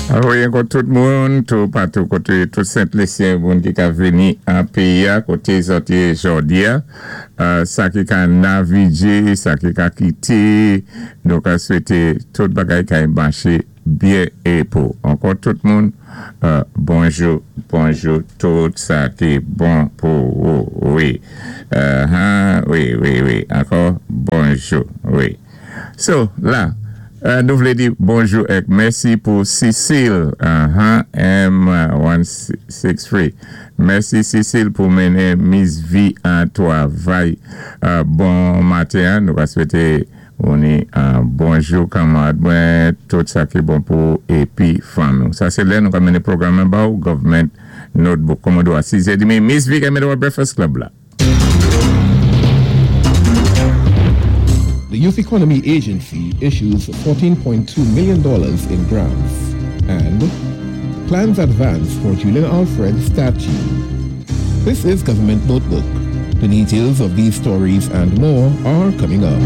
Wi, ankò tout moun, tou patou koté tout Sent Lisyen, moun ki ka vini an péyi-a, koté zòt yé jòdi-a, sa ki ka navigé, sa ki ka kité, nou ka swété tout bagay kay maché byen é pou. Ankò tout moun, bonjou, bonjou, tout sa ki bon pou ou, wi. Wi, ankò, bonjou, wi. So, la, nou vlé di bonjou èk mèsi pou Cecile, M163. Mèsi, Cecile, pou mennen Miss V an twavay. Bon maten, nou va swété ou bonjou kanmarad mwen, tout sa ki bon pou épi fanmi. Sa sé lè nou ka mennen pwogram ba ou Government Notebook. Kòmodò a 6 è demi, Miss V ka mennen Breakfast Club la. The Youth Economy Agency issues $14.2 million in grants and plans advance for Julien Alfred statue. This is Government Notebook. The details of these stories and more are coming up.